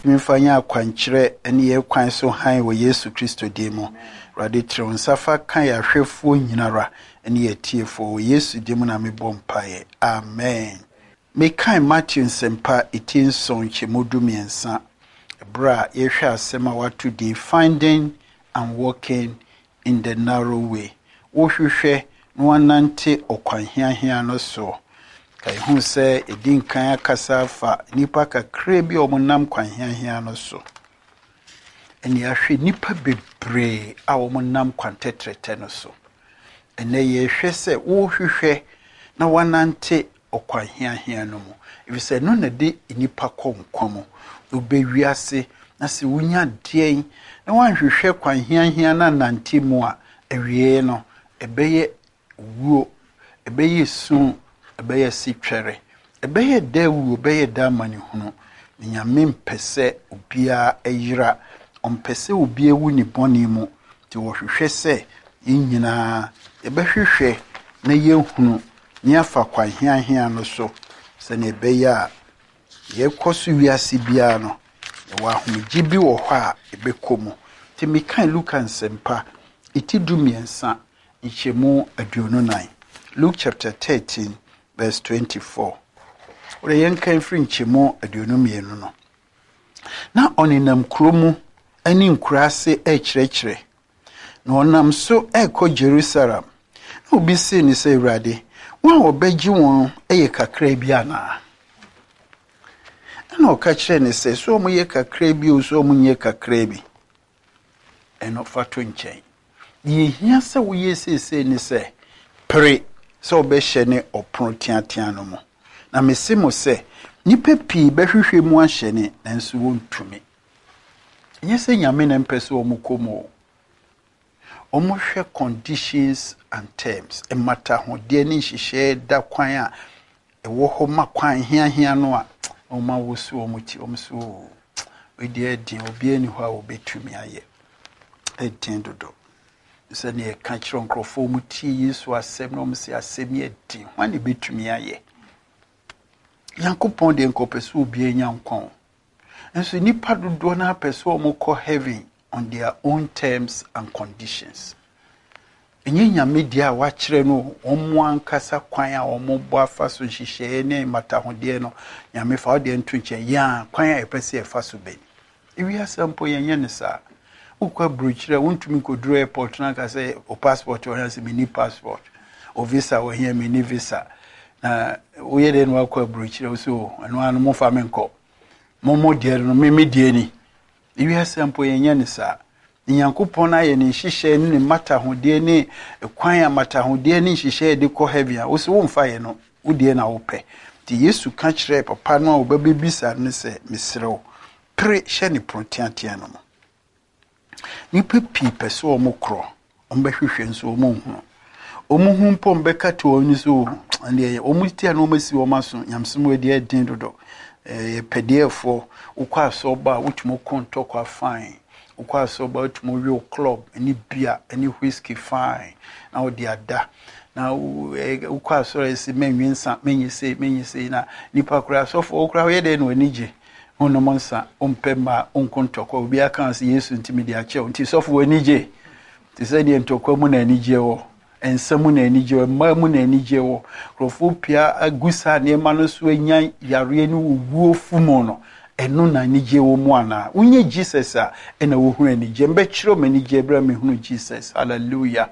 Ntumi mfa nyɛ akwankyerɛ ne yɛn kwan so hann wɔ Yesu Kristo din mu. Awurade, trɛ wo nsa fa ka yɛn ahwɛfoɔ nyinara ne yɛn atiefoɔ. Wɔ Yesu din mu na mebɔ mpaeɛ. Amen. Mekan Mateo Nsɛmpa eti nson nkyɛmu 13 berɛ a yɛhwɛ asɛm a wɔato din Finding and Walking in the Narrow Way. Wohwehwɛ na woanante ɔkwan hiahia no soɔ. Ka yɛhu sɛ yɛdi nkan akasa afa nnipa kakraa bi a wɔnam kwan hiahia no so. Ɛne yɛahwɛ nnipa bebree a wɔnam kwan tɛtrɛtɛ no so. Ɛnɛ yɛhwɛ sɛ wohwehwɛ na woanante ɔkwan hiahia no mu. Ɛfiri sɛ ɛno na ɛde nnipa kɔ nkwa mu. Wobɛ wiase na sɛ wonya deɛn na woanhwehwɛ kwan hiahia no anante mu a, awie no, ɛbɛyɛ wuo, ɛbɛyɛ su, ɛbɛyɛ sitwɛre, ɛbɛyɛ da wuo, ɛbɛyɛ da amanehunu. Na Nyame mpɛ sɛ obiara yera, ɔmpɛ sɛ obiara wu ne bɔne mu. Nti wɔhwehwɛ sɛ yɛn nyinaa yɛbɛhwehwɛ na yɛhunu na yɛafa kwan hiahia no so sɛnea ɛbɛyɛ a yɛkɔ so wiase biara no, yɛwɔ ahomegye bi wɔ hɔ a yɛbɛkɔ mu. Nti mekan Luka Nsɛmpa eti 13 nkyɛmu 24. Luke chapter 13 verse 24. Wode yɛnkan firi nkyɛmu 22 no. Na ɔnenam kuro mu ne nkuraase rekyerɛkyerɛ. Na ɔnam so rekɔ Jerusalem. Na obi see no sɛ, Awurade, wɔn a wɔbɛgye wɔn yɛ kakraa bi anaa? Ɛna ɔka kyerɛɛ no sɛ, sɛ wɔyɛ kakraa bi o, sɛ wɔnyɛ kakraa bi, ɛno fa to nkyɛn. Deɛ ehia sɛ woyɛ seesei ne sɛ, pere sɛ wobɛhyɛne ɔpono teatea no mu. Na mese mo sɛ, nnipa pii bɛhwehwɛ mu ahyɛne, nanso wɔntumi. Ɛnyɛ sɛ Nyame na mpɛ sɛ wɔn kɔ mu o. Wɔhwɛ conditions and terms, mmatahodeɛ ne nhyehyɛeɛ da kwan a ɛwɔ hɔ ma kwan hiahia no a, wɔn awoso wɔn ti, wɔn so oo, wei deɛ ɛden, obiara nni hɔ a wɔbɛtumi ayɛ. Ɛden dodo. Sɛdeɛ yɛka kyerɛ nkurɔfoɔ, wɔn tie Yesu asɛm na wɔn sɛ asɛm yɛ den, hwan na ɛbɛtumi ayɛ? Nyankopɔn deɛ nka ɔpɛ sɛ obiara nya nkwa o. Nso nnipa dodoɔ no apɛ sɛ wɔn kɔ heaven on their own terms and conditions. Ɛnyɛ Nyame deɛ a wakyerɛ no wɔn ankasa kwan a wɔn bɔ afa so nhyehyɛeɛ ne mmatahodeɛ no, Nyame fa wo deɛ nto nkyɛn, yɛn a kwan a yɛpɛ sɛ yɛfa so bɛni. Ewiase mpo yɛnyɛ no saa. Wokɔ aburokyire a wontumi nkɔduru airport no anka sɛ o passport wɔ hɛ sɛ menni passport, o visa wɔ hɛ menni visa. Na woyɛ dɛn na wakɔ aburokyire wo sɛ o ɛno ara no momfa me nkɔ. Mo mo deɛ no me me deɛ ni. Ewiase mpo yɛnyɛ no saa. Nyankopɔn ayɛ ne nhyehyɛe ne ne mmatahodeɛ ne kwan a mmatahodeɛ ne nhyehyɛe de kɔ heaven a wo sɛ womfa yɛ no, wo deɛ na wopɛ. Nti Yesu ka kyerɛɛ papa no a ɔbɛbɛbisa no sɛ, mesrɛ wo, pere hyɛ ne pono teatea no mu. Nnipa pii pɛ sɛ wɔn korɔ, wɔn bɛhwehwɛ nso wɔn nhunu. Wɔn ho mpo wɔn bɛka to wɔn ani so, ɛndeɛ wɔn ti a na wɔn asi wɔn aso, nyamesom wɔ deɛ ɛden dodo. Ɛyɛ pɛdeɛfoɔ, wokɔ asɔreba a wotumi kɔ ntɔkwa fine. Wokɔ asɔreba a wotumi we club ne beer ne whiskey fine na wode ada. Na wokɔ asɔre a yɛse mɛnwe nsa, mɛnyɛ sei, mɛnyɛ sei na nipa koraa asɔfoɔ wo koraa woyɛ dɛn na w'ani gye? Wonnom nsa, wompɛ mmaa, wonko ntɔkwa, obiara ka sɛ Yesu nti mede akyɛ wo nti sɔfo w'ani gye? Te sɛ deɛ ntɔkwa mu na anigyeɛ wɔ, nsa mu na anigyeɛ wɔ, mmaa mu na anigyeɛ wɔ. Nkurɔfoɔ pia agu saa nneɛma no so anya yareɛ ne owuo fu mu no, ɛno na anigyeɛ wɔ mu anaa? Wonyɛ Jesus a, ɛna wohunu anigyeɛ. Mbɛkyerɛ me anigyeɛ berɛ a mehunu Jesus. Hallelujah.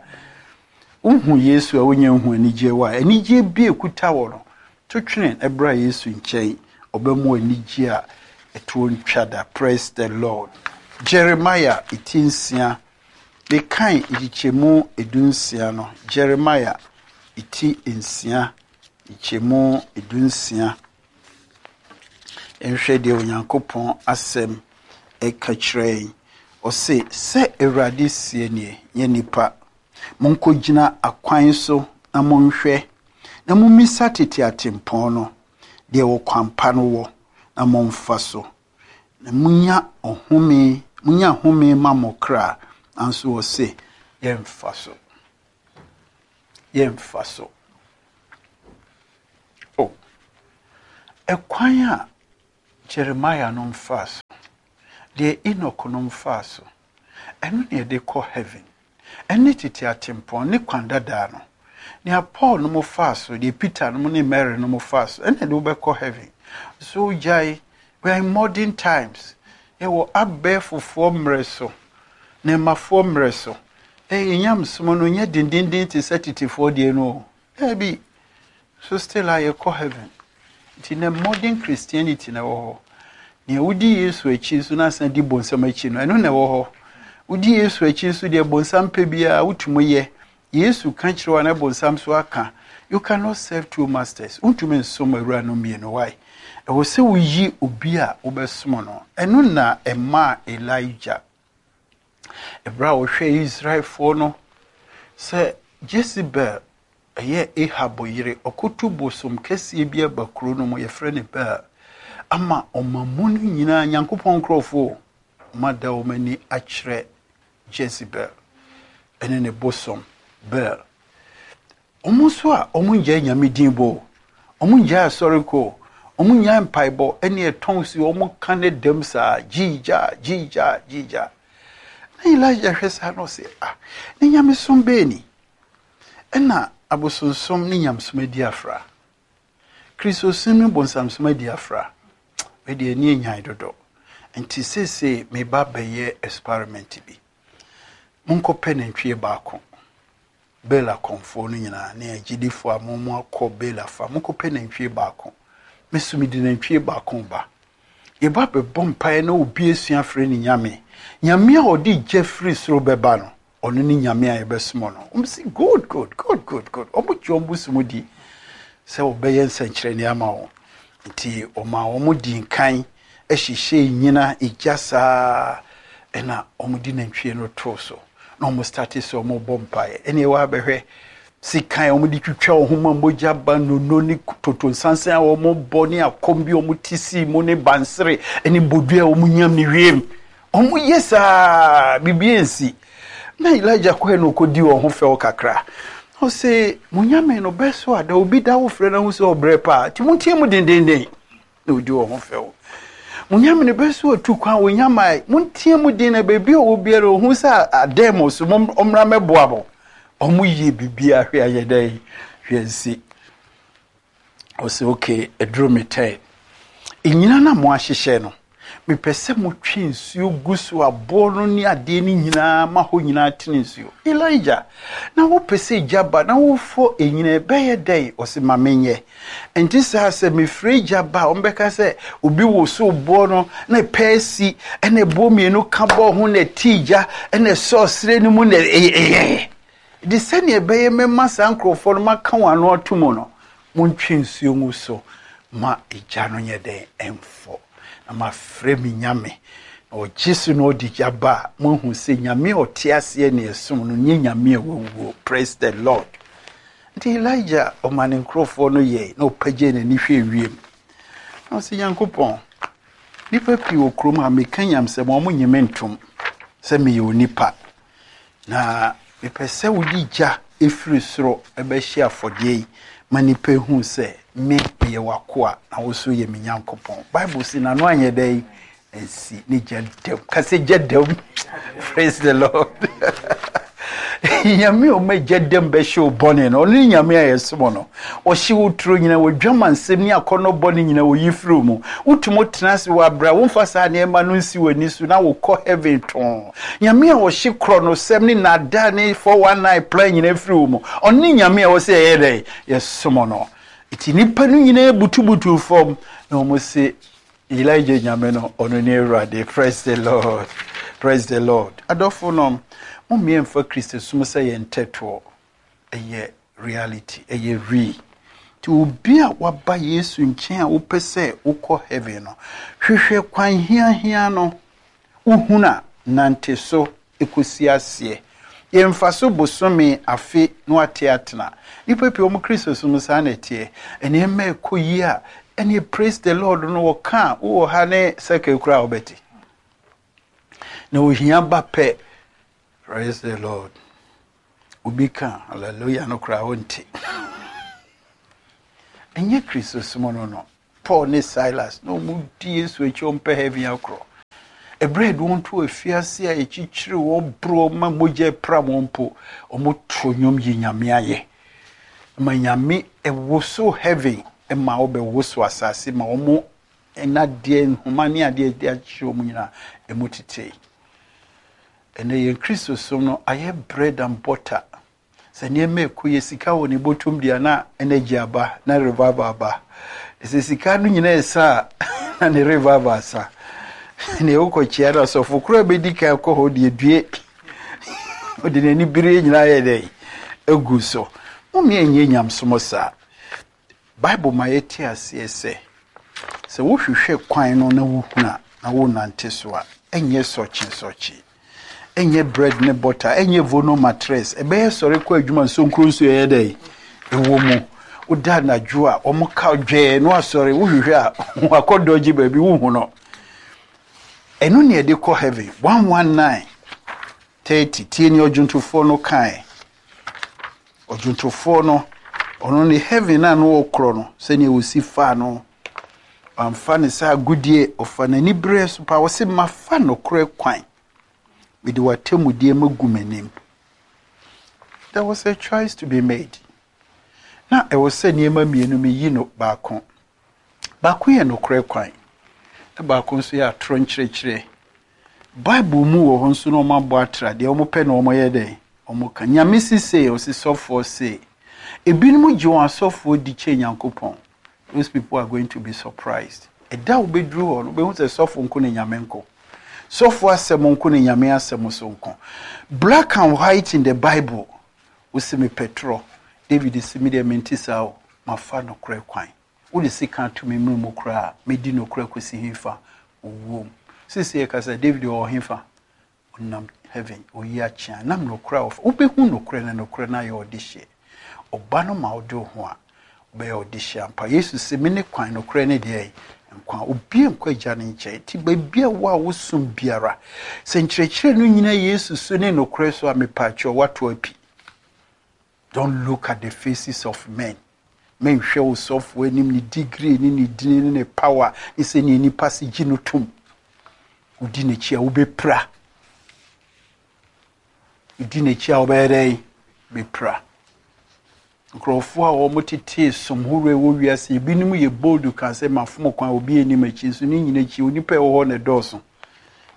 Wohu Yesu a wonya nhu anigyeɛ wɔ a, anigyeɛ bi a ɛkuta wɔ no, to twene ɛbra Yesu nkyɛn, ɔbɛma anigyeɛ a ɛtoɔ ntwa da. Praise the Lord. Jeremiah ti 6, mekan nkyekyɛmu 16 no. Jeremiah ti 6, nkyekyɛmu 16. Nhwɛ deɛ Onyankopɔn asɛm ɛka kyerɛ yɛn. Ɔse, sɛ Awurade seɛ nie, nyɛ nipa. Monkɔgyina akwan so na monhwɛ, na mommisa tete atempɔn no, deɛ ɔkwan pa no wɔ, na momfa so. Na munya ɔhome, munya home ma mo kra, nanso ɔse, yɛmfa so. Yɛmfa so. Oh, ɛkwan a Jeremiah no mfaa so. Deɛ Enoch nom faa so, ɛno na yɛde kɔ heaven. Ɛne tete atempɔn ne kwan dadaa no. Nea Paul nom faa so, deɛ Peter nom ne Mary nom faa so, ɛna ɛde wo bɛkɔ heaven. So gyae, we are in modern times. Yɛwɔ abɛɛfofoɔ mmerɛ so, nnɛɛmafoɔ mmerɛ so. Ɛyɛ nyamesom no nyɛ dendenden te sɛ tetefoɔ deɛ no o. Daabi. So still a yɛkɔ heaven. Nti nɛ modern Christianity na ɛwɔ hɔ. Nea wodi Yesu akyi nso na asan di bonsam akyi no, ɛno na ɛwɔ hɔ. Wodi Yesu akyi nso deɛ bonsam pɛ biara wotumi yɛ. Yesu ka kyerɛ wo a na bonsam nso aka. You cannot serve two masters. Wontumi nsom awuranom mmienu. Why? Ɛwɔ sɛ woyi obi a wobɛsom no. Ɛno na ɛmaa Elijah, ɛberɛ a ɔhwɛɛ Israelfoɔ no sɛ Jezebel ɛyɛ Ahab yere, ɔkɔtu bosom kɛseɛ bi aba kuro no mu, yɛfrɛ no Baal, ama ɔman mu no nyinaa, Nyankopɔn nkurɔfoɔ, wɔada wɔn ani akyerɛ Jezebel ne ne bosom Baal. Wɔn nso a wɔngyae Nyame din bɔ o, wɔngyae asɔre kɔ o, wɔnnyae mpaebɔ ne ɛtɔn si wɔn ka ne dɛm saa, gyiigyaa, gyiigyaa, gyiigyaa. Na Elijah hwɛ saa na ɔse, ah, ne nyamesom bɛɛ ni? Ɛna abosonsom ne nyamesom adi afra. Kristosom ne bonsamsom adi afra. Wei deɛ ani anyan dodo. Nti seesei meba bɛyɛ experiment bi. Monkɔpɛ nantwie baako. Baal akɔmfoɔ no nyinaa ne agyidifoɔ a mo mo akɔ Baal afa, monkɔpɛ nantwie baako. Me nso mede nantwie baako ba. Yɛba bɛbɔ mpaeɛ na obi asua afrɛ ne nyame. Nyame a ɔde gya firi soro bɛba no, Ɔno ne Nyame a yɛbɛsom no. Wɔn se good good good good good. Wɔn gye wɔn bosom di sɛ wɔbɛyɛ nsɛnkyerɛnne ama wɔn. Nti wɔmaa wɔn di nkan hyehyɛɛ nyina egya saa ɛna wɔn de nantwie no too so na wɔn starte sɛ wɔn bɔ mpaeɛ. Ɛne ɛwɔ abɛhwɛ sekan a wɔn de twitwa wɔn ho ma mogya ba nono ne toto nsansan a wɔn bɔ ne akɔm bi a wɔn ti sii mu ne bansere ne bodua a wɔn nyam ne wiem. Wɔyɛ saa a, biribi ansi. Na Elijah kɔe na ɔkɔdii wɔn ho fɛw kakra. Ɔse, mo nyame no bɛso ada, obi da wo frɛ no ahu sɛ ɔbrɛ paa, nti monteɛ mu dendenden. Na ɔdi wɔn ho fɛw. Mo nyame no bɛso atu kwan, ɔnya mae, monteɛ mu den na baabi a ɔwɔ biara ɔhu sɛ adɛn mo so, ɔmmra mmɛboa mo. Wɔyɛ biribiara hwɛ ayɛ dɛn, hwɛ ansi. Ɔsɛ okay, ɛduru me tɛn. Nnyina no a moahyehyɛ no, mepɛ sɛ motwe nsuo gu so aboɔ no ne adeɛ no nyinaa ma hɔ nyinaa tene nsuo. Elijah, na wopɛ sɛ gya ba na wofɔ nnyina ɛbɛyɛ dɛn? Ɔse ma menyɛ. Ɛnte saa sɛ mefrɛ gya ba a wɔbɛka sɛ obi wosow boɔ no na ɛpɛ asi ɛna ɛboɔ mmienu ka bɔɔ ho na ɛtee gya ɛna ɛsɔɔ serɛ no mu na ɛyɛ. De sɛnea ɛbɛyɛ mɛma saa nkurɔfoɔ no maka wɔn ano ato mu no, montwe nsuo ngu so ma egya no nyɛ dɛn? Ɛmfɔ. Na mafrɛ me Nyame, na ɔgye so na ɔde gya ba a, moahu sɛ Nyame a ɔte aseɛ ne ɛsom no nyɛ Nyame a wawuo. Praise the Lord. Nti Elijah ɔma ne nkurɔfoɔ no yɛe na ɔpagyee n'ani hwɛɛ wiem. Na ɔse, Nyankopɔn, nnipa pii wɔ kurom ha, meka nyamsɛm a, wɔnnye me ntom sɛ meyɛ onipa. Na mepɛ sɛ wode gya firi soro bɛhye afɔdeɛ yi ma nnipa hu sɛ me meyɛ w'akoa na wo nso yɛ me Nyankopɔn. Bible se n'ano anyɛ dɛn? Ansi ne gya dam. Ka sɛ gya dam. Praise the Lord. Nyame a ɔma gya dam bɛhye wo bɔne no, ɔno ne Nyame a yɛsom no. Ɔhye wo turo nyina, w'adwamansɛm ne akɔnnɔ bɔne nyina ɔyi firi wo mu. Wotumi tena ase wɔ abrɛ a womfa saa nneɛma no nsi w'ani so na wokɔ heaven tɔnn. Nyame a ɔhye korɔnosɛm ne nnaadaa ne 419 plan nyina firi wo mu, ɔno ne Nyame a ɛwɔ sɛ yɛyɛ dɛn? Yɛsom no. Nti nnipa no nyinaa butubutuu fam na wɔn se, Elijah Nyame no, ɔno ne Awurade. Praise the Lord. Praise the Lord. Adɔfo nom, mommea mfa Kristosom sɛ yɛn ntɛtoɔ. Ɛyɛ reality, ɛyɛ real. Nti obi a waba Yesu nkyɛn a wopɛ sɛ wokɔ heaven no, hwehwɛ kwan hiahia no, wohunu a, nante so kɔsi aseɛ. Yɛmfa so bosome, afe na wate atena. Nnipa pii wɔn Kristosom saa na ɛteɛ. Nneɛma ɛkɔ yie a, ɛneɛ praise the Lord no wɔka a, wowɔ ha ne circle koraa a wobɛte. Na ohia ba pɛ, praise the Lord. Obi ka hallelujah no koraa wonte. Ɛnyɛ Kristosom no no. Paul ne Silas na wɔn di Yesu akyi wɔn pɛ heaven akorɔ. Ɛberɛ a yɛde wɔn too afiase a yɛkyikyiri wɔn boro wɔn ma mogya pra wɔn mpo, wɔto nnwom yi Nyame ayɛ. Ma Nyame ɛwoso heaven ma wɔbɛwoso asase ma wɔn nnadeɛ, nhoma ne adeɛ de akyekyere wɔn nyinaa ɛmu tetee. Ɛnɛ yɛn Kristosom no ayɛ bread and butter. Sɛ nneɛma ɛkɔ yɛ sika wɔ ne bɔtɔm deɛ na energy aba na revival aba. Sɛ sika no nyinaa ɛsa a na ne revival asa. Nea wokɔkyia no asɔfo koraa bɛdi kan kɔ hɔ deɛ due. Ɔde n'ani bere nyinaa yɛ dɛn agu so. Mommea nyɛ nyamsom saa. Bible ma yɛte aseɛ sɛ, sɛ wohwehwɛ kwan no na wohunu a, na wonante so a, ɛnyɛ sɔkye-sɔkye, ɛnyɛ bread ne butter, ɛnyɛ vono mattress, ɛbɛyɛ sɔre kɔ adwuma nsonkuro nso ɛyɛ dɛ ɛwɔ mu. Woda anadwo a, wɔn ka dwɛɛ no asɔre, wohwehwɛ a, wakɔ dɔgye baabi wohu no. Ɛno ne ɛde kɔ heaven. 119 30 tie ne ɔdwontofoɔ no kae. Ɔdwontofoɔ no, ɔno ne heaven a na ɔkorɔ no, sɛnea ɔsi faa no, wamfa ne sɛ agodie, ɔfa n'ani berɛ so paa, ɔse mafa nokorɛ kwan, mede w'atemmudeɛ magu m'anim. There was a choice to be made. Na ɛwɔ sɛ nneɛma mmienu meyi no baako. Baako yɛ nokorɛ kwan, na baako nso yɛ atorɔ nkyerɛkyerɛ. Bible mu wɔ hɔ nso na wɔabɔ atra, deɛ wɔpɛ na wɔyɛ dɛn? Wɔka. Nyame se sei, ɔse sɔfoɔ sei. Ebinom gye wɔn asɔfoɔ di kyɛn Nyankopɔn. Those people are going to be surprised. Ɛda a wobɛduru hɔ no, wobɛhu sɛ sɔfo nko ne Nyame nko. Sɔfo asɛm nko ne Nyame asɛm so nko. Black and white in the Bible. Wose mepɛ torɔ. David se me deɛ mente saa o, mafa nokorɛ kwan. Wode sekan to me mene mu koraa a, mɛdi nokorɛ kɔsi hefa? Owuo mu. Seesei yɛkasa, David ɔwɔ hefa? Ɔnam heaven, ɔyi akyea. Nam nokorɛ a ɔfa. Wobɛhu nokorɛ na nokorɛ no ayɛ ɔdehyeɛ. Ɔba no ma wode wo ho a, wobɛyɛ ɔdehyeɛ ampa. Yesu se, mene kwan, nokorɛ ne deɛ nkwa. Obi nkɔ agya no nkyɛn. Nti baabi a wo a wosom biara, sɛ nkyerɛkyerɛ no nyina Yesu so ne nokorɛ so a, mepaakyɛw, woato api. Don't look at the faces of men. Menhwɛ wo sɔfo anim, ne degree ne ne dini ne ne power ne sɛnea nipa se gye no tom. Wodi n'akyi a wobɛpira. Wodi n'akyi a wobɛyɛ dɛn? Bɛpira. Nkurɔfoɔ a wɔtetee som horoɔ ɛwɔ wiase, ebinom yɛ bold ka sɛ mafom kwan, obi anim akyi, nso ne nyina akyi onipa ɛwɔ hɔ na ɛdɔɔso.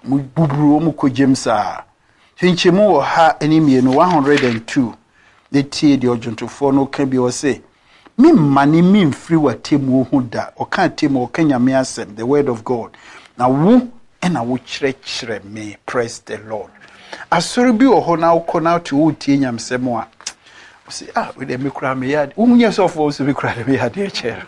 Wɔbuburu wɔn kɔ gyam saa. Nkyɛmu wɔ ha ne mmienu, 102, na tie deɛ ɔdwontofoɔ no ka bi, ɔse, Memmane memfiri w'atemmuo ho da. Ɔka atemmuo, ɔka Nyame asɛm, the word of God. Na wo na wokyerɛkyerɛ me, praise the Lord. Asɔre bi wɔ hɔ na wokɔ na wote woretie nyamesɛm a, ɔse, ah, wei deɛ me koraa meyɛ adeɛ. Wonyɛ sɔfoɔ wo sɛ me koraa deɛ meyɛ adeɛ kyɛɛ no.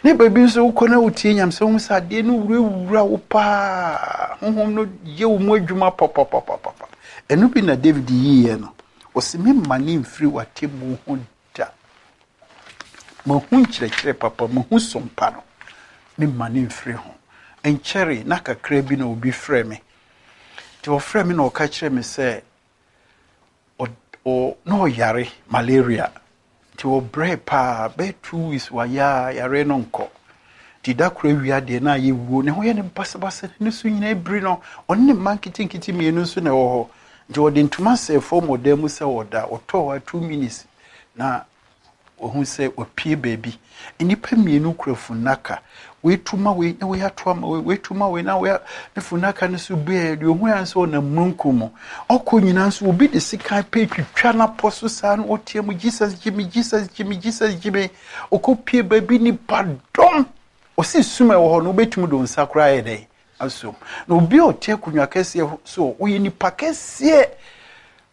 Ne baabi nso wokɔ na wotie nyamesɛm wohu sɛ adeɛ no wurawura wo paa, honhom no yɛ wo mu adwuma papapapapa. Ɛno bi na David yiiɛ no. Ɔse, memmane mfiri w'atemmuo ho da. Mahu nkyerɛkyerɛ papa, mahu som pa no, memmane mfiri ho. Ɛnkyɛree na kakra bi na obi frɛ me. Nti ɔfrɛ me na ɔka kyerɛ me sɛ na ɔyare malaria. Nti ɔbrɛɛ paa, bɛyɛ 2 weeks wayɛ a yare no nkɔ. Nti da koro awia deɛ na ayɛ wuo, ne ho yɛ no basabasa, ne so nyinaa biri no. Ɔne ne mma nketenkete mmienu nso na ɛwɔ hɔ. Nti ɔde ntoma sɛɛ fam wɔ dan mu sɛ ɔda. Ɔtɔɔ hɔ a 2 minutes na wahu sɛ wapue baabi. Nnipa mmienu kura funnaka. Wei tu ma wei na wei ato ama wei, wei tu ma wei na wei ne funnaka no so bueɛ. Deɛ ohu ara sɛ ɔnam mununkum mu. Ɔkɔ nyinaa nso obi de sekan pɛ twitwa n'apɔ so saa na ɔteɛ mu Jesus gye me, Jesus gye me, Jesus gye me. Ɔkɔ pue baabi nipa dɔm. Ɔsi sum a ɛwɔ hɔ no wobɛtumi de wo nsa koraa ayɛ dɛn asom. Na obi a ɔte akonnwa kɛseɛ so ɔyɛ nipa kɛseɛ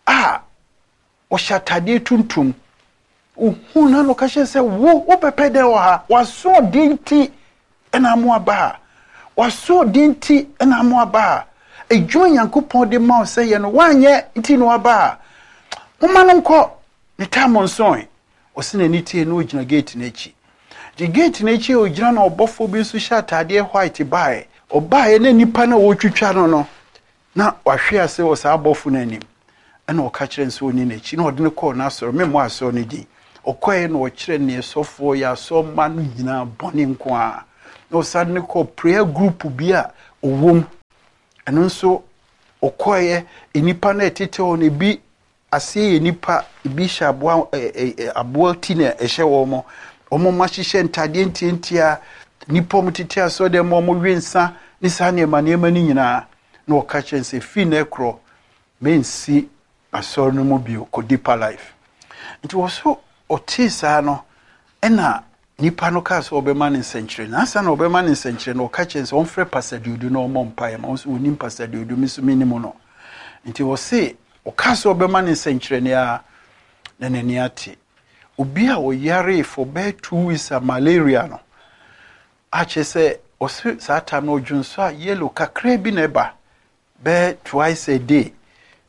a ɔhyɛ atadeɛ tuntum. Ohun na na ɔka kyerɛ sɛ wo wobɛpɛ dɛn wɔ ha? W'asoɔden nti ɛna amo aba ha. W'asoɔden nti ɛna amo aba ha. Adwuma Nyankopɔn de ma wo sɛ yɛ no woanyɛ nti na waba ha. Momma no nkɔ ne tam nsoe. Ɔsi n'ani tie na ogyina gate n'akyi. Nti gate n'akyi a ogyina na ɔbɔfoɔ bi nso hyɛ atadeɛ white baeɛ. Ɔbaeɛ na nipa no a wɔretwitwa no no na wahwe ase wɔ saa abɔfo no anim. Ɛna ɔka kyerɛ no sɛ ɔni n'akyi na ɔde no kɔɔ n'asɔre. Memmɔ asɔre no din. Ɔkɔeɛ na ɔkyerɛ neɛ sɔfoɔ yɛ asɔremma no nyinaa bɔne nko ara. Na ɔsan de no kɔɔ prayer group bi a ɔwɔ mu. Ɛno nso ɔkɔeɛ, nnipa no a ɛtete hɔ no, ebi aseɛ yɛ nnipa, ebi hyɛ aboa ɛ ɛ aboa ti na ɛhyɛ wɔn. Wɔn ahyehyɛ ntadeɛ ntiantia, nnipa a wɔtete asɔredan mu a wɔwe nsa ne saa nneɛma nneɛma no nyinaa. Na ɔka kyerɛ no sɛ, firi nnɛ korɔ, mensi asɔre no mu bio, kɔ Deeper Life. Nti wɔ so ɔtee saa no, ɛna nipa no kaa sɛ ɔbɛma no nsɛnkyerɛnne. Na ansa na ɔbɛma no nsɛnkyerɛnne no, ɔka kyerɛ no sɛ ɔmfrɛ Pastor Duodu na ɔmmɔ mpaeɛ ma. Ɔnso ɔnim Pastor Duodu, me nso menim no. Nti ɔse ɔkaa sɛ ɔbɛma no nsɛnkyerɛnne a, na n'ani ate. Obi a ɔyaree for bɛyɛ 2 weeks a malaria no, akyerɛ sɛ ɔse saa time no ɔdwonsɔ a yellow kakraa bi na ɛba bɛyɛ twice a day.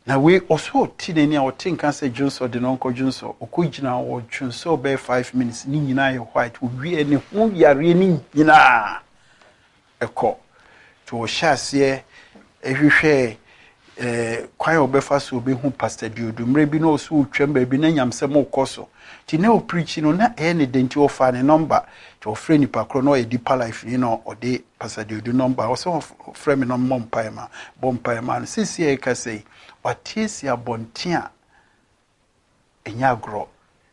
Na wei ɔsɛ ɔte n'ani a ɔte nka sɛ dwonsɔ de no ɔnkɔ dwonsɔ. Ɔkɔ gyina hɔ dwonsɔ bɛyɛ 5 minutes, ne nyinaa yɛ white. Owie ne ho yareɛ ne nyinaa ɛkɔ. Nti ɔhyɛ aseɛ ɛhwehwɛ kwan a ɔbɛfa so ɔbɛhu Pastor Duodu. Mmerɛ bi na ɔso ɔtwam baabi na nyamsɛm ɔkɔ so. Nti na ɔpreach no na ɛyɛ ne de, nti ɔfaa ne number. Nti ɔfrɛ nipa korɔ na ɔyɛ Deeper Life ni na ɔde Pastor Duodu number. Ɔsɛ ɔfrɛ me na ɔmmɔ mpaeɛ ma bɔ mpaeɛ ma no. Seesei a yɛka sɛ yi, wate asi abɔnten a ɛnyɛ agorɔ.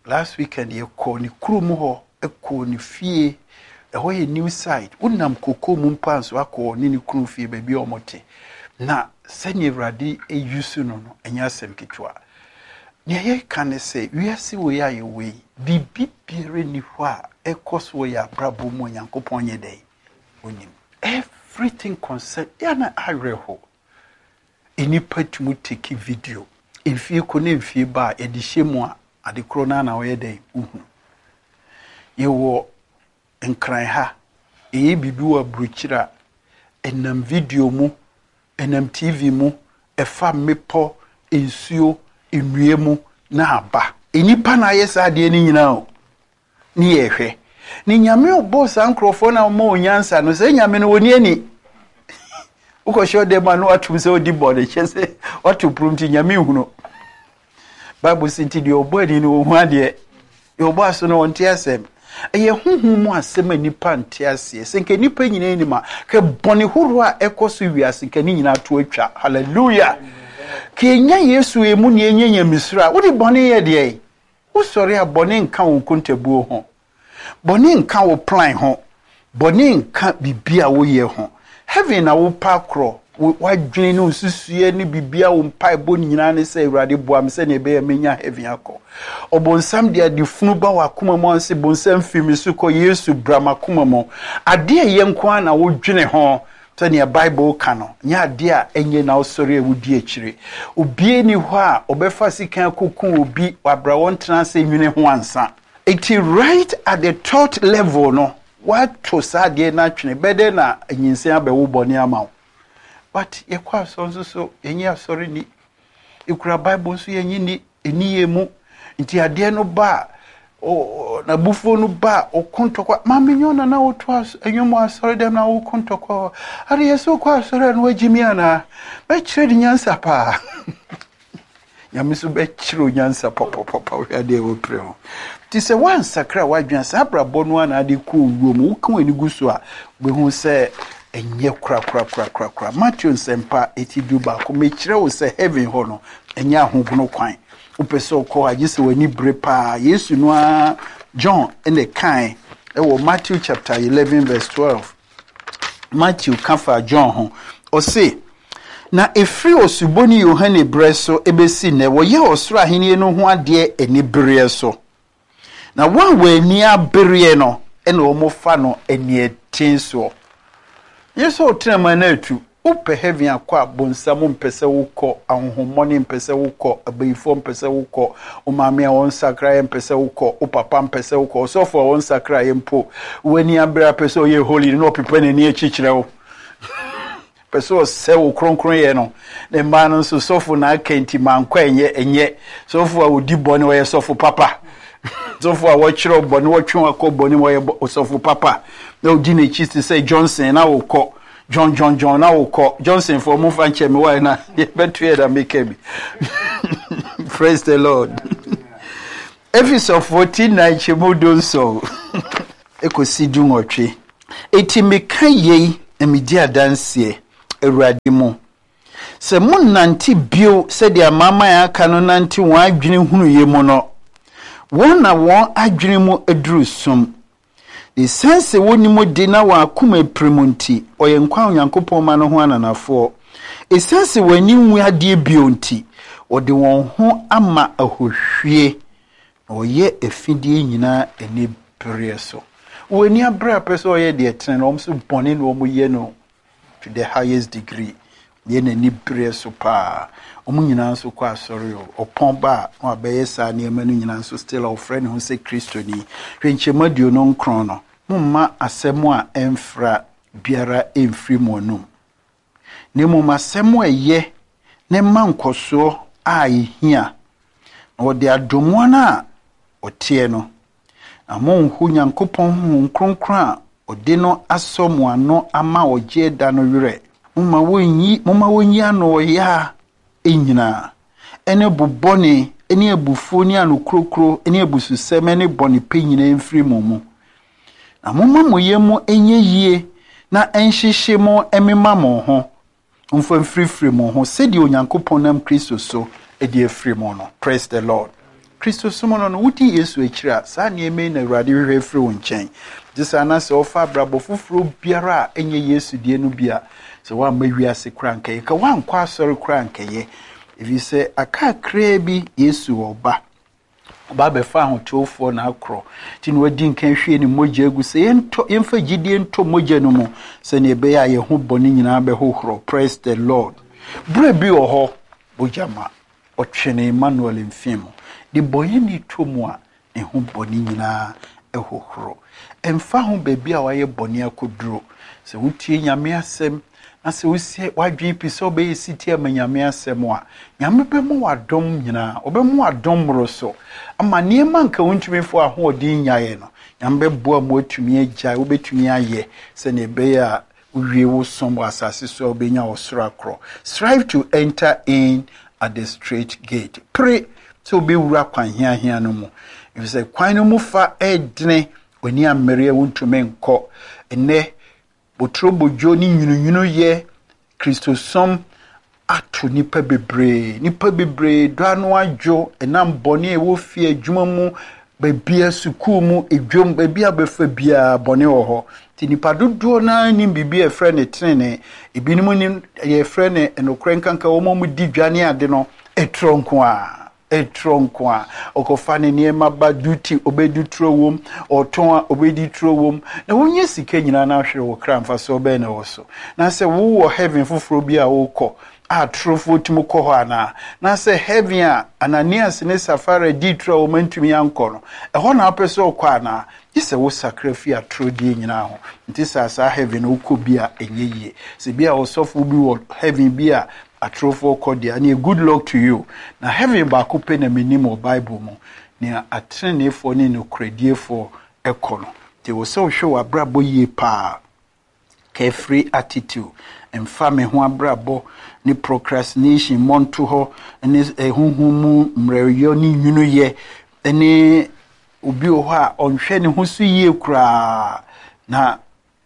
Last weekend yɛkɔɔ ne kurom hɔ, kɔɔ ne fie. Ɛhɔ yɛ new site. Wonam koko mu mpo anso akɔ ne ne kunu fie baabi a wɔte. Na sɛnea Awurade use no, ɛnyɛ asɛm ketewa. Nea yɛka ne sɛ, wiase wei a yɛwɔ yi, biribi biara nni hɔ a ɛkɔ so wɔ yɛn abrabɔ mu a Onyankopɔn nyɛ dɛn? Onim. Everything concern, yɛ na awerɛho. Nnipa tumi take video. Mfie kɔ ne mfie ba a yɛde hyɛ mu a, ade korɔ no ara na wɔyɛ dɛn? Wohunu. Yɛwɔ Nkran ha, ɛyɛ biribi wɔ aburokyire a, ɛnam video mu, ɛnam TV mu, ɛfa mmepɔ, nsuo, nnua mu na aba. Nnipa na ayɛ saa adeɛ no nyinaa o. Ne yɛhwɛ. Ne Nyame ɔbɔɔ saa nkurɔfoɔ na ɔma wɔn nyansa no, sɛ Nyame no wɔni ani. Wokɔhyɛ ɔdan mu a na watom sɛ ɔdi bɔne, kyɛ sɛ wato pono nti Nyame nhunu. Bible sɛ nti deɛ ɔbɔ ani no ɔhu adeɛ, deɛ ɔbɔ aso no ɔnte asɛm. Ɛyɛ honhom mu asɛm a nnipa nte aseɛ. Sɛ nka nnipa nyinaa nim a, ka bɔne horoɔ a ɛkɔ so wiase nka ne nyinaa to atwa. Hallelujah! Ka yɛnya Yesu emu ne yɛnya nyamesuro a, wode bɔne yɛ deɛ? Wosɔre a bɔne nka wo nkontabuo ho. Bɔne nka wo plan ho. Bɔne nka biribi a woyɛ ho. Heaven na wopɛ akorɔ. W'adwene ne wo nsusuiɛ ne biribi a wo mpaebɔ nyinaa ne sɛ, Awurade boa me sɛnea ɛbɛyɛ menya heaven akɔ. Ɔbonsam de ade funu ba w'akoma mu anse bonsam firi me so kɔ, Yesu bra m'akoma mu. Adeɛ a ɛyɛ nko ara na wodwene ho sɛnea Bible ka no, nyɛ adeɛ a ɛnyɛ na wosɔre a wodi akyire. Obiara nni hɔ a ɔbɛfa sekan akɔku obi wabra wɔntena ase nwene ho ansa. Enti right at the thought level no, woato saa adeɛ no atwene, bɛdɛn na nyinsɛn abɛwo bɔne ama wo? But yɛkɔ asɔre nso so, yɛnyɛ asɔre ni. Yɛkura Bible nso yɛnye ni, ɛni yɛn mu. Nti adeɛ no ba a, n'abufuo no ba a, ɔko ntɔkwa. Maame nyɛ ɔna na woto nnwom wɔ asɔre dɛm na woko ntɔkwa hɔ. Ade yɛ sɛ wokɔ asɔre a na wagye mi anaa? Bɛkyerɛ de nyansa paa. Nyame nso bɛkyerɛ wo nyansa papapapa wohwɛ adeɛ a wɔpere ho. Nti sɛ woansakra w'adwene a, saa abrabɔ no ara na ade kɔ owuo mu. Woka w'ani gu so a, wobɛhu sɛ ɛnyɛ korakorakorakorakora. Mateo Nsɛmpa eti 11, mekyerɛ wo sɛ heaven hɔ no, ɛnyɛ ahogono kwan. Wopɛ sɛ wokɔ a, gye sɛ w'ani bere paa. Yesu no ara, John na ɛkae ɛwɔ Matthew chapter 11 verse 12. Matthew ka faa John ho. Ɔse, na ɛfiri Osuboni Yohane berɛ so bɛsi nnɛ, wɔyɛ ɔsoro ahennie no ho adeɛ anibereɛ so. Na wɔn a wɔn ani abereɛ no na wɔfa no aniɛden soɔ. Nyɛ sɛ wotena mu a na atu. Wopɛ heaven akɔ a, bonsam mpɛ sɛ wokɔ, ahonhommɔne mpɛ sɛ wokɔ, abayifoɔ mpɛ sɛ wokɔ, wo maame a ɔnsakraeɛ mpɛ sɛ wokɔ, wo papa mpɛ sɛ wokɔ, ɔsɔfo a ɔnsakraeɛ mpo, w'ani abere a pɛ sɛ ɔyɛ holy no na ɔpepa n'ani akyi kyerɛ wo. Pɛ sɛ ɔsɛ wo kronkronyɛ no. Ne mmaa no nso, sɔfo na aka nti mankɔ ɛnyɛ, ɛnyɛ. Sɔfo a ɔdi bɔne ɔyɛ sɔfo papa. Sɔfo a wɔkyerɛ bɔne, wɔtwe akɔ bɔne mu ɔyɛ sɔfo papa. Na ɔdi n'akyi te sɛ Johnson na wokɔ. John John John na wokɔ. Johnson fo mo fa nkyɛn me wa na yɛbɛto yɛ na meka bi. Praise the Lord. Efesɔfoɔ ti 4 nkyɛmu 17 ekosi 18. Enti meka yei na medi adanseɛ Awurade mu. Sɛ monnante bio sɛdeɛ amanaman a aka no nante wɔn adwene hunuyɛ mu no, wɔn na wɔn adwene mu aduru sum. Esiane sɛ wonni mu de na wɔn akoma apirim nti, wɔyɛ nkwa a Onyankopɔn ma no ho ananafoɔ. Esiane sɛ wɔn ani nwu adeɛ bio nti, wɔde wɔn ho ama ahohwie, na wɔyɛ afideɛ nyinaa anibereɛ so. Wɔn ani abere a pɛ sɛ wɔyɛ deɛ ɛtene no, wɔn nso bɔne na wɔyɛ no to the highest degree. Yɛ n'ani bereɛ so paa. Wɔn nyinaa nso kɔ asɔre o. Ɔpɔn ba a na wabɛyɛ saa nneɛma no nyinaa nso still a ɔfrɛ ne ho sɛ Kristoni. Hwɛ nkyɛmu 29 no. Momma asɛm a ɛmfra biara mfiri mo anom, na mmom asɛm a ɛyɛ na ɛma nkɔsoɔ a ɛhia, na wɔde adom wɔn a wɔteɛ no. Na monnho Nyankopɔn Honhom Kronkron a ɔde no asɔ mo ano ama ɔgyeɛ da no werɛ. Momma wɔnyi, momma wɔnyi anoɔyaa nyinaa, ne bo bɔne, ne abufuo, ne anokurokuro, ne abususɛm, ne bɔnepɛ nyinaa mfiri mo mu. Na momma mo yam nyɛ yie na ɛnhyehye mo mmema mo ho. Momfa mfirifiri mo ho sɛdeɛ Onyankopɔn nam Kristo so de afiri mo no. Praise the Lord. Kristosom no no, wodi Yesu akyiri a, saa nneɛma yi na Awurade hwehwɛ firi wo nkyɛn. Gye saa na sɛ ɔfa abrabɔ foforɔ biara a ɛnyɛ Yesu deɛ no bi a, sɛ woamma wiase koraa nkɛyɛ, ka woankɔ asɔre koraa nkɛyɛ, ɛfiri sɛ aka kakraa bi Yesu ɔba. Ɔba abɛfa ahotewofoɔ na akorɔ. Nti na wadi nkan hwie ne mogya agu sɛ yɛntɔ, yɛmfa gyidie ntɔ mogya no mu sɛnea ɛbɛyɛ a yɛn ho bɔne nyinaa bɛhohorɔ. Praise the Lord. Berɛ bi wɔ hɔ, mogya ma ɔtwe ne Emmanuel mfe mu. De bɔyɛni tɔ mu a, ne ho bɔne nyinaa hohoro. Ɛmfa ho baabi a wayɛ bɔne akɔduro, sɛ wotie Nyame asɛm na sɛ wosi w'adwene pi sɛ wobɛyɛ setie ama Nyame asɛm a, Nyame bɛma wo adom nyinaa, ɔbɛma wo adom mmoroso ama nneɛma nka wontumi mfa w'ahoɔden nyaeɛ no, Nyame bɛboa ma woatumi agyae, wobɛtumi ayɛ sɛdeɛ ɛbɛyɛ a wowie wo som wɔ asase so a wobɛnya ɔsoro akorɔ. Strive to enter in at the straight gate. Pere sɛ wobɛwura kwan hiahia no mu, ɛfiri sɛ kwan no mu fa ɛredene, w'ani ammere a wontumi nkɔ. Ɛnnɛ, Boturobodwo ne nwununwunu yɛ Kristosom ato nnipa bebree. Nnipa bebree dɔ ano adwo ɛnam bɔne a ɛwɔ fie, adwuma mu, baabia, sukuu mu, edwam, baabi a bɛfa biara bɔne wɔ hɔ. Nti nnipa dodoɔ no ara nim biribi a ɛfrɛ no tenenee. Ebinom nim deɛ ɛfrɛ no nokorɛ nkanka wɔn a wɔdi dwa ne ade no, ɛtorɔ nko ara. Turo nko a, ɔkɔfa ne nneɛma ba duty ɔbɛdi turo wom, ɔtɔn a ɔbɛdi turo wom. Na wonya sika nyinaa na ahwere wo kra mfasoɔ bɛn na ɛwɔ so? Na sɛ wowɔ heaven foforɔ bi a wokɔ a turofoɔ tumi kɔ hɔ anaa? Na sɛ heaven a Ananias ne Safira dii turo a wɔn antumi ankɔ no, ɛhɔ na wopɛ sɛ wokɔ anaa? Gye sɛ wosakra fi atorɔdie nyinaa ho. Nti saa saa heaven no wokɔ bi a ɛnyɛ yie. Sɛ bi a ɔsɔfo bi wɔ heaven bi a atorofoɔ kɔ deɛ ɛneɛ good luck to you. Na heaven baako pɛ na menim wɔ Bible mu, nea ateneneefoɔ ne nokorɛdiefoɔ kɔ no. Nti ɛwɔ sɛ wohwɛ w'abrabɔ yie paa. Carefree attitude, mfa me ho abrabɔ ne procrastination mmɔntohɔ ne honhom mu mmerɛwyɛ ne nwunuyɛ ne obi wɔ hɔ a ɔnhwɛ ne ho so yie koraa na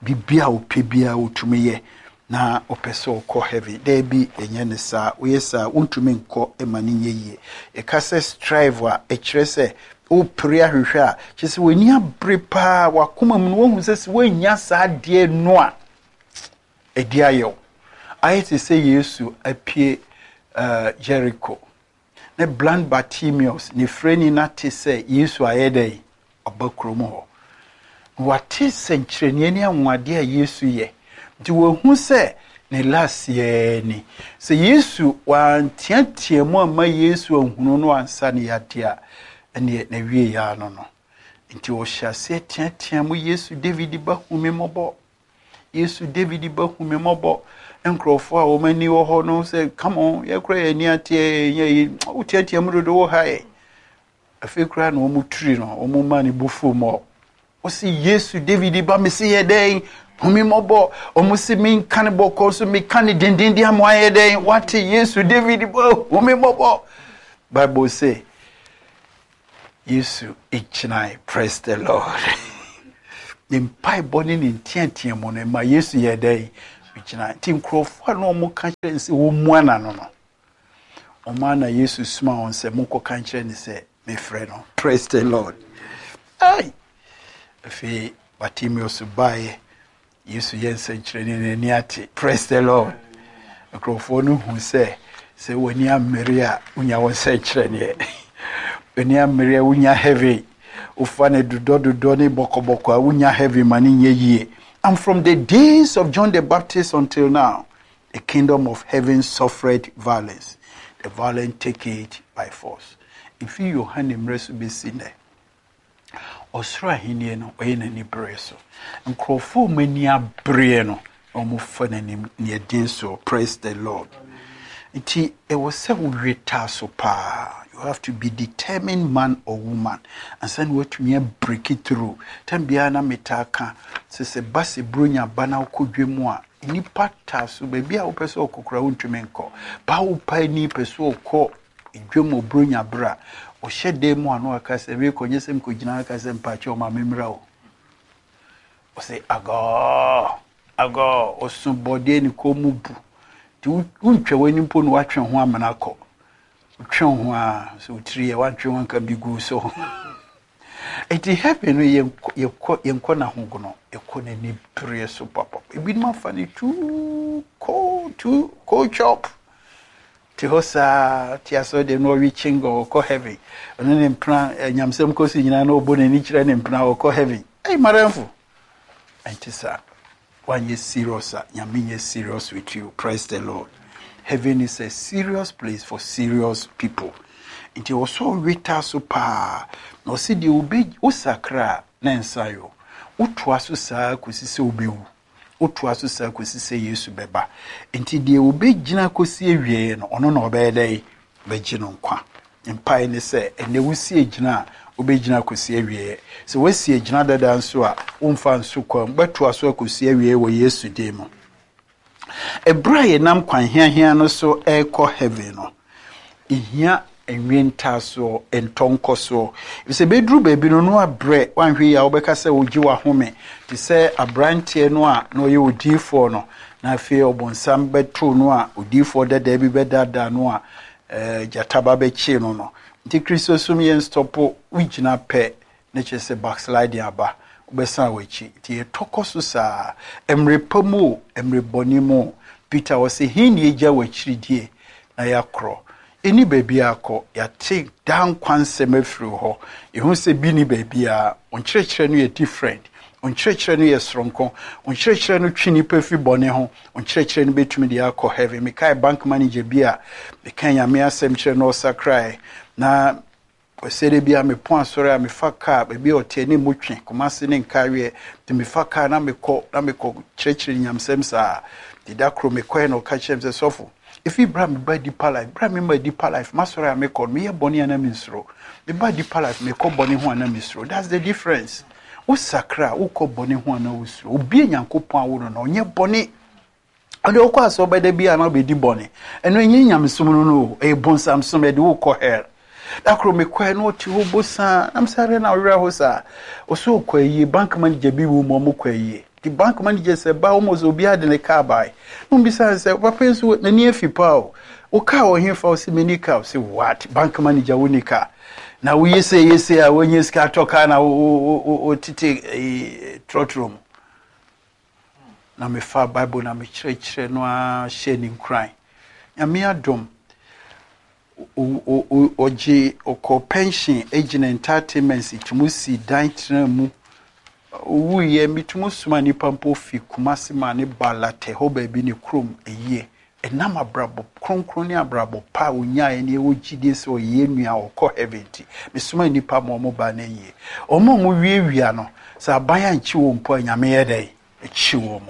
biribi a ɔpɛ biara ɔtumi yɛ na ɔpɛ sɛ ɔkɔ heaven. Daabi, ɛnyɛ ne saa. Woyɛ saa wontumi nkɔ ma no nyɛ yie. Yɛka sɛ strive a, ɛkyerɛ sɛ Wopere ahwehwɛ a, kyerɛ sɛ w'ani abere paa, w'akoma mu no woahu sɛ sɛ woannya saa adeɛ no a, ɛdi ayɛ wo. Ayɛ te sɛ Yesu apue uh, Jericho. Ne blind Bartimaeus, ne firani no ate sɛ Yesu ayɛ dɛn? Ɔba kurom hɔ. Wate sɛnkyerɛnneɛ ne anwanwadeɛ a Yesu yɛ. Nti wahu sɛ ne last yɛɛ ni. Sɛ Yesu wanteatea mu amma Yesu anhunu no ansa ne yadeɛ a, ɛneɛ n'awieɛ ara no no. Nti ɔhyɛ aseɛ teatea mu, Yesu David ba hu me mmɔbɔ. Yesu David ba hu me mmɔbɔ. Nkurɔfoɔ a wɔn ani wɔ hɔ no sɛ, come on, yɛkora yɛn ani ateɛ, yɛnyɛ yi, woteatea mu dodo wo ha yɛ. Afei koraa na wɔn tiri no, wɔn maa ne bo fuu mɔ. Wɔsi Yesu David ba mesi yɛ dɛn? Hu me mmɔbɔ. Wɔn si me nka ne bɔkɔ so meka ne dendenden ama ayɛ dɛn? Wate Yesu David ba hu me mmɔbɔ. Bible say Yesu gyinae. Praise the Lord. Ne mpaebɔ ne ne nteatea mu no ma Yesu yɛ dɛn? Ogyina. Nti nkurɔfoɔ a na wɔka kyerɛ no sɛ wɔmmua n'ano no, wɔn ara na Yesu soma wɔn sɛ monkɔka nkyerɛ no sɛ mefrɛ no. Praise the Lord. Ai! Afei Bartimeus baeɛ, Yesu yɛ nsɛnkyerɛnne n'ani ate. Praise the Lord. Nkurɔfoɔ no hu sɛ sɛ w'ani ammere a wonya wo nsɛnkyerɛnneɛ. W'ani ammere a wonya heaven. Wofa no dodɔdodɔ ne bɔkɔbɔkɔ a wonya heaven ma no nyɛ yie. And from the days of John the Baptist until now, the kingdom of heaven suffered violence. The violent take it by force. Mfi Yohane mmerɛ so bɛsi nnɛ, ɔsoro ahennie no ɔyɛ n'ani bereɛ so. Nkurɔfoɔ a wɔn ani abereɛ no na wɔfa n'anim neɛ den so. Praise the Lord. Nti ɛwɔ sɛ wowe taa so paa. You have to be determined man or woman ansa na woatumi abreak through. Tam biara na metaa ka sɛ sɛ ba sɛ buronya ba na wokɔ dwa mu a, nnipa taa so baabi a wopɛ sɛ ɔkɔ koraa wontumi nkɔ. Ba wo paani pɛ sɛ ɔkɔ dwam wɔ buronya berɛ a, ɔhyɛ dan mu a na waka sɛ meekɔ nyɛ sɛ mekɔgyina aka sɛ mpaakyɛ ɔma memmra o. Ɔsɛ agɔɔ agɔɔ ɔso bɔdeɛ ne kɔn mu bu. Nti wontwa w'ani mpo na woatwe ho amena kɔ. Wotwe wo ho a sɛ wotiri yɛ woantwe ho anka bi gu so. Nti heaven no yɛnkɔ yɛnkɔ n'ahogono, yɛkɔ n'ani bereɛ so papa. Ebinom afa no too cold, too cold chop. Te hɔ saa, te asɔre deɛ na ɔwe chingo, ɔkɔ heaven. Ɔno ne mpena, nyamsɛm kɔ so nyinaa na ɔbɔ n'ani kyerɛ ne mpena, ɔkɔ heaven. Ei, madamfo, ɛnte saa. Wanyɛ serious a, Nyame nyɛ serious with you. Praise the Lord. Heaven is a serious place for serious people. Nti ɔsɛ ɔwe taa so paa. Na ɔsɛ deɛ obe wosakra a na nsa yɔ. Wotoa so saa kɔsi sɛ wobɛwu. Wotoa so saa kɔsi sɛ Yesu bɛba. Nti deɛ obɛgyina kɔsi awieɛ no, ɔno na ɔbɛyɛ dɛn? Bɛgye no nkwa. Mpae ne sɛ, ɛnnɛ wosi agyina a, wobɛgyina akɔsi awieɛ. Sɛ woasi agyina dada nso a, womfa nso kwan mu, wobɛtoa so akɔsi awieɛ wɔ Yesu din mu. Ɛberɛ a yɛnam kwan hiahia no so rekɔ heaven no, ɛhia nwentaasoɔ, ntɔnkɔsoɔ. Ɛfiri sɛ bɛduru baabi no, no abrɛ, woanhwɛ yie a wobɛka sɛ wogye w'ahome te sɛ aberanteɛ no a na ɔyɛ odiyifoɔ no, na afei ɔbonsam bɛtoo no a odiyifoɔ dadaa bi bɛdaadaa no a gyata ba bɛkyee no no. Nti Kristosom yɛn stɔpo, wogyina pɛ na kyerɛ sɛ backsliding aba, wobɛsan w'akyi. Nti yɛtɔ kɔ so saa, mmerɛ pa mu o, mmerɛ bɔne mu o. Peter ɔse, he ne yɛgya w'akyiridie na yɛakorɔ? Yɛnni baabiara kɔ, yɛate daa nkwa nsɛm afiri wo hɔ, yɛhu sɛ bi nni baabiara. Wo nkyerɛkyerɛ no yɛ different, wo nkyerɛkyerɛ no yɛ soronko, wo nkyerɛkyerɛ no twe nnipa firi bɔne ho, Wo nkyerɛkyerɛ no bɛtumi de akɔ heaven. Mekae bank manager bi a meka Nyame asɛm kyerɛ no ɔsakrae. Na Kwasiada bi a mepɔn asɔre a mefa kaa baabi a ɔteɛ ne mu twe Kumasi ne Nkaeɛ. Nti mefa kaa na mekɔ na mekɔ kyerɛkyerɛ nyamsɛm saa. Nti da koro mekɔɛ na ɔka kyerɛ me sɛ sɔfo, ɛfiri berɛ a meba Deeper Life, berɛ a mema Deeper Life, m'asɔre a mekɔ no, meyɛ bɔne a na mensuro. Meba Deeper Life, mekɔ bɔne ho a na mesuro. That's the difference. Wosakra a, wokɔ bɔne ho anaa wosuro? Obi a Nyankopɔn awo no no, ɔnyɛ bɔne. Ɔde wokɔ asɛ ɔbɛda bi a na wobɛdi bɔne. Ɛno ɛnyɛ nyamesom no no o, ɛyɛ bonsamsom, ɛde wokɔ hell. Da koro mekɔɛ na ɔte hɔ bosaa, na mesɛ adɛn na ɔwerɛ ho saa? Ɔsɛ ɔkɔ ayie, bank manager bi wɔ mu ɔmo kɔ ayie. Nti bank manager sɛ ba almost obiara de ne car bae. Na ɔmbisa no sɛ, papa yi nso n'ani afi paa o, wo car wɔ hefa? Ɔse menni car. Ɔse what? Bank manager wonni car? Na woyɛ sei yɛ sei a woanya sika atɔ kaa na wotete trɔtrɔ mu. Na mefa Bible na mekyerɛkyerɛ no ara hyɛ ne nkuran. Nyame adom, ɔgye ɔkɔ pension gyina entitlements tumi si dan tena mu. Owuiɛ metumi soma nnipa mpo fi Kumasi ma ne ba Latɛ hɔ baabi ne kurom ayie. Ɛnam abrabɔ kronkron ne abrabɔ pa a ɔnyaeɛ ne ɛwɔ gyidie sɛ ɔyɛ yɛn nua a ɔkɔ heaven nti, mesoma nnipa ma wɔn ba no ayie. Wɔn a wɔwiawia no, sɛ aban ankye wɔn mpo a, Nyame yɛ dɛn? Ɛkye wɔn.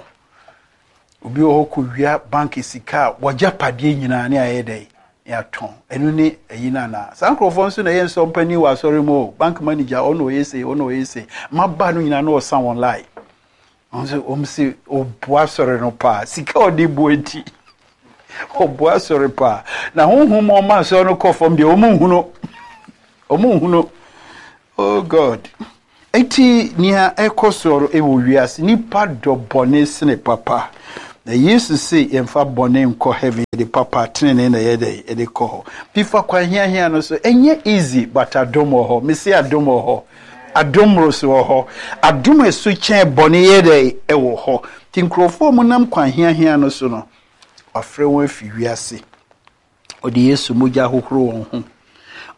Obi wɔ hɔ kɔwia bank sika a, w'agyapadeɛ nyinaa ne ayɛ dɛn? Ne atɔn. Ɛno ne ayi no anaa? Saa nkurɔfoɔ nso na ɛyɛ nsɔmpanin wɔ asɔre mu o. Bank manager, ɔno ɔyɛ sei, ɔno ɔyɛ sei. Mmabaa no nyinaa na ɔsa wɔn line. Wɔn nso wɔn se ɔboa asɔre no paa. Sika a ɔde boa nti ɔboa asɔre paa. Na honhom mu ɔma asɔre no kɔ fam deɛ wɔn nhunu. Wɔn nhunu. Oh God. Eti nea ɛkɔ so wɔ wiase nipa dɔ bɔne sene papa. Na Yesu se yɛmfa bɔne nkɔ heaven, yɛde papa, tenenee na ɛyɛ dɛn? Yɛde kɔ hɔ. Nti fa kwan hiahia no so. Ɛnyɛ easy but adom wɔ hɔ. Mese adom wɔ hɔ. Adom mmoroso wɔ hɔ. Adom a ɛso kyɛn bɔne yɛ dɛn? Ɛwɔ hɔ. Nti nkurɔfoɔ a wɔnam kwan hiahia no so no, wafrɛ wɔn afi wiase. Ɔde Yesu mogya ahohoro wɔn ho.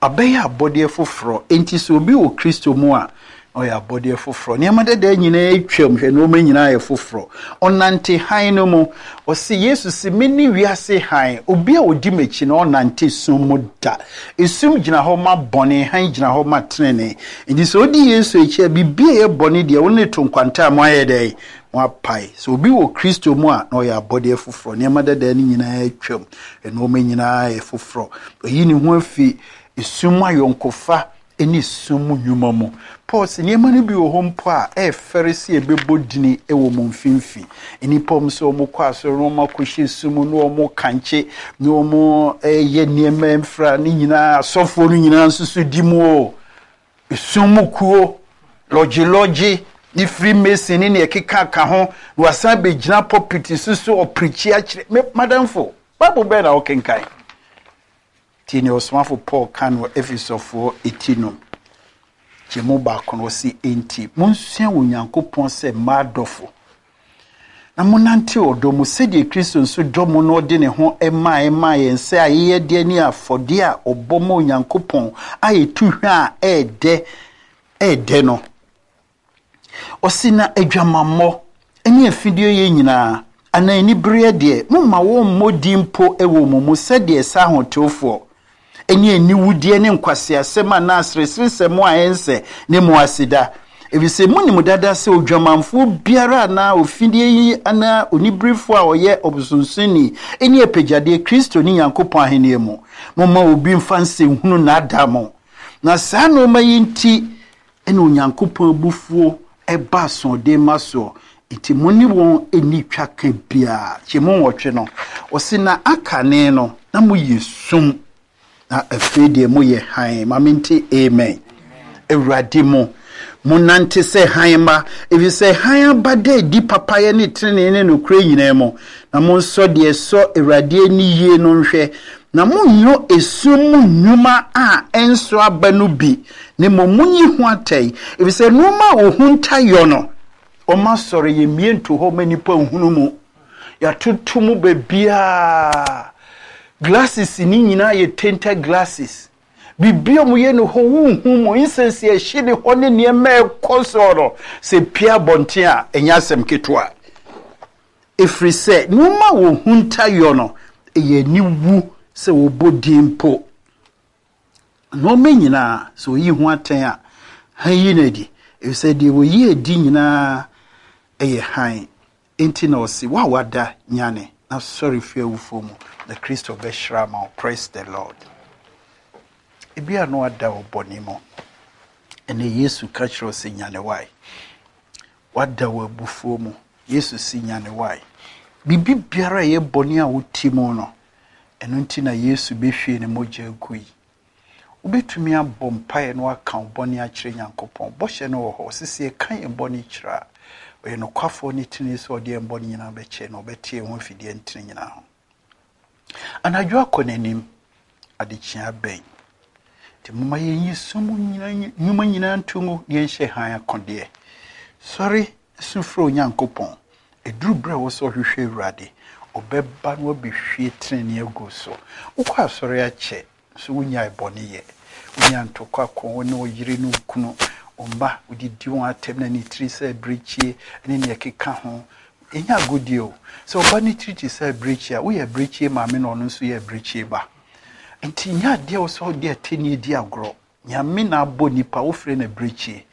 Abɛyɛ abɔdeɛ foforɔ. Enti sɛ obi wɔ Kristo mu a, na ɔyɛ abɔdeɛ foforɔ. Nneɛma dada nyinaa atwam, hwɛ nneɛma nyinaa yɛ foforɔ. Ɔnante hann no mu. Ɔse, Yesu se, mene wiase hann. Obi a ɔdi m'akyi no, ɔnnante sum mu da. Esum gyina hɔ ma bɔne, hann gyina hɔ ma tenenee. Enti sɛ odi Yesu akyi a, biribi a ɛyɛ bɔne deɛ, wo ne to nkwanta a, moayɛ dɛn? Moapae. Sɛ obi wɔ Kristo mu a, na ɔyɛ abɔdeɛ foforɔ. Nneɛma dada no nyinaa atwam, nneɛma nyinaa yɛ foforɔ. Wayi ne ho afi esum mu ayɔnkofa ne sum mu nnwuma mu. Paul se nneɛma no bi wɔ hɔ mpo a ɛyɛ fɛre sɛ yɛbɛbɔ dini wɔ mo mfimfini. Nnipa wɔn sɛ wɔn kɔ asɔre na wɔn akɔhyɛ sum mu na wɔn kankye na wɔn yɛ nneɛma mfra ne nyinaa asɔfoɔ no nyinaa nso so di mu o. Esum mu kuo, lɔgyelɔgye, ne Freemason ne nea ɛkeka ka ho, na wasan bɛgyina pulpit so so ɔpreakyi akyerɛ. Me madamfo, Bible bɛn na wokenkan? Tie nea ɔsomafo Paul ka no wɔ Efesofoɔ eti no kyɛmu baako no, ɔse, Enti monsua wɔ Onyankopɔn sɛ mma adɔfo, na monnante ɔdɔ mu sɛdeɛ Kristo nso dɔ mo na ɔde ne ho maeɛ maa yɛn sɛ ayɛyɛdeɛ ne afɔdeɛ a ɔbɔ ma Onyankopɔn a ɛtu hwa a ɛɛdɛ ɛɛdɛ no. Ɔse na adwamammɔ ne afideɛyɛ nyinaa, anaa anibereɛ deɛ, momma wɔmmɔ din mpo wɔ mo mu sɛdeɛ ɛsɛ ahotewfoɔ, ne aniwudeɛ ne nkwaseasɛm anaa asereseresɛm a ɛnsɛ ne mo aseda, ɛfiri sɛ monim dada sɛ odwamanfoɔ biara anaa ofideɛyi anaa oniberefoɔ a ɔyɛ ɔbosonsonni nni apɛgyadeɛ Kristo ne Nyankopɔn ahennie mu. Momma obi mfa nsɛnhunu nnaadaa mo, na saa nnoɔma yi nti na Onyankopɔn abufuo ba asoɔden mma soɔ, enti mo ne wɔn nni twaka biara. Kyɛmu nwɔtwe no, ɔse, na akane no, na moyɛ sum, na afei deɛ moyɛ hann. Ma mente amen. Awurade mu, monante sɛ hann mma, ɛfiri sɛ hann aba da adi papayɛ ne tenenee ne nokorɛ nyinaa mu, na monsɔ deɛ ɛsɔ Awurade ani yie no nhwɛ, na monnyɔ esum mu nnwuma a ɛnso aba no bi, na mmom monyi ho atɛn, ɛfiri sɛ nnoɔma a wɔhunta yɔ no, wɔma sɔre, yɛmmie nto hɔ ma nnipa nhunu mu. Yɛatoto mu baabiara. Glasses ne nyinaa yɛ tinted glasses. Biribi a wɔyɛ no hɔ wonhu mu, incense a ɛhye ne hɔ ne nneɛma a ɛkɔ soɔ no, sɛ pue abɔnten a, ɛnyɛ asɛm ketewa. Ɛfiri sɛ nneɛma a wɔhunta yɔ no, ɛyɛ aniwu sɛ wɔbɔ din mpo. Nnoɔma nyinaa, sɛ ɔyi ho atɛn a, hann yi no adi, ɛfiri sɛ deɛ wɔyi adi nyinaa yɛ hann. Enti na ɔse, Wo a woada, nyane, na sɔre firi awufoɔ mu, na Kristo bɛhyerɛn ama wo. Praise the Lord. Ebia na woada wɔ bɔne mu. Ɛnɛ Yesu ka kyerɛ wo sɛ nyane wae. Woada wɔ abufuo mu. Yesu se nyane wae. Biribi biara a ɛyɛ bɔne a wote mu no, Ɛno nti na Yesu bɛhwiee ne mogya gui. Wobɛtumi abɔ mpaeɛ na woaka wo bɔne akyerɛ Nyankopɔn. Bɔhyɛ no wɔ hɔ. Ɔse sɛ yɛka yɛn bɔne kyerɛ a, ɔyɛ nokwafoɔ ne tenenee sɛ ɔde yɛn bɔne nyinaa bɛkyɛ na ɔbɛte yɛn ho afi deɛ ɛntene nyinaa ho. Anadwo akɔ n'anim, adekyea abɛn. Nti momma yɛnyi sum nnwuma nyinaa nto ngu na yɛnhyɛ hann akodeɛ. Sɔre Su frɛ Onyankopɔn. Ɛduru berɛ a ɛwɔ sɛ ɔhwehwɛ Awurade, ɔbɛba na wabɛhwie tenenee agu wo so. Wokɔ asɔre akyɛ, nso wonnyae bɔne yɛ. Wonya ntɔkwa ko, wo ne wo yere ne wo kunu, wo mma, wodidi wɔn atɛm na ne tiri sɛ abirekyie ne nea ɛkeka ho. Ɛnyɛ agodie o. Sɛ ɔba ne tiri te sɛ abirekyie a, woyɛ abirekyie maame na ɔno nso yɛ abirekyie ba. Nti nyɛ adeɛ a ɛwɔ sɛ wode atɛnnie di agorɔ. Nyame na abɔ nipa, wofrɛ no abirekyie.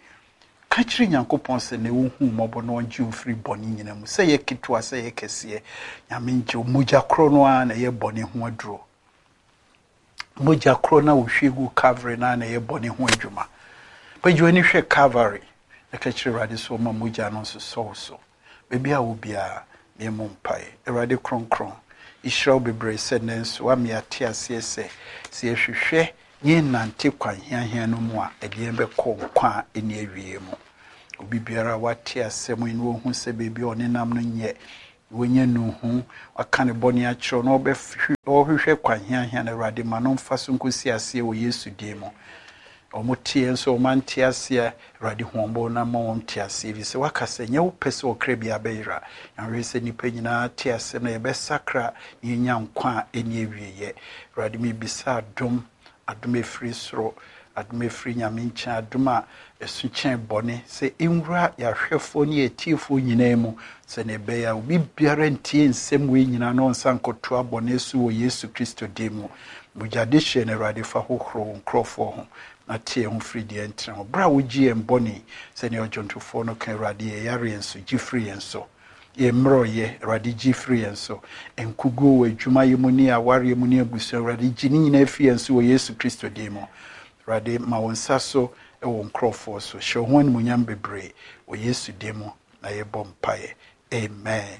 Ka kyerɛ Nyankopɔn sɛ nɛ ɔnhu wo mmɔbɔ na ɔngye wo mfiri bɔne nyina mu, sɛ ɛyɛ ketewa sɛ ɛyɛ kɛseɛ, Nyame ngye wo. Mogya korɔ no ara na ɛyɛ bɔne ho aduro. Mogya korɔ no a wɔhwie guu Calvary no ara na ɛyɛ bɔne ho adwuma. Pagya w'ani hwɛ Calvary na ka kyerɛ Awurade sɛ ɔma mogya no nsosɔ wo so. Baabi a wɔ biara, yɛmmɔ mpaeɛ. Awurade Kronkron, yɛhyira wo bebree sɛ nnɛ nso woama yɛate aseɛ sɛ, sɛ yɛhwehwɛ na yɛnante kwan hiahia no mu a, ɛde yɛn bɛkɔ nkwa a ɛnni awieɛ mu. Obi biara a wate asɛm yi na wahu sɛ baabi a ɔnenam no nyɛ, Na wanya nnuhu, waka ne bɔne akyerɛ wo, na ɔrehwehwɛ kwan hiahia no, Awurade, ma no mfa so nkɔsi aseɛ wɔ Yesu din mu. Wɔn teɛ nso wɔn ante aseɛ, Awurade hu wɔn bɔ na ma wɔn te aseɛ, ɛfiri sɛ waka sɛ nyɛ wo pɛ sɛ ɔkra biara bɛyera. Nyame sɛ nnipa nyinaa te asɛm na yɛbɛsakra na yɛnya nkwa a ɛnni awieɛ. Awurade mebisa adom, adom ɛfiri soro, adom ɛfiri Nyame nkyɛn, adom a ɛso kyɛn bɔne, sɛ ɛnwura yɛn ahwɛfoɔ ne yɛn atiefoɔ nyinaa mu, sɛdeɛ ɛbɛyɛ a obi biara ntie nsɛm wei nyinaa na ɔnsan nkɔtoa bɔne so wɔ Yesu Kristo din mu. Mogya dehyeɛ no, Awurade, fa hohoro wo nkurɔfoɔ ho, na te yɛn ho firi deɛ ɛntene ho. Berɛ a wogye yɛn bɔne, sɛdeɛ ɔdwontofoɔ no ka, Awurade, yɛn yareɛ nso, gye firi yɛn so. Yɛn mmerɛwyɛ, Awurade, gye firi yɛn so. Nkuguo wɔ adwumayɛ mu ne awareɛ mu ne abusua, Awurade, gye ne nyinaa firi yɛn so wɔ Yesu Kristo din mu. Awurade, ma wo nsa so wɔ wo nkurɔfoɔ so. Hyɛ wo ho animuonyam bebree wɔ Yesu din mu na yɛbɔ mpaeɛ. Amen.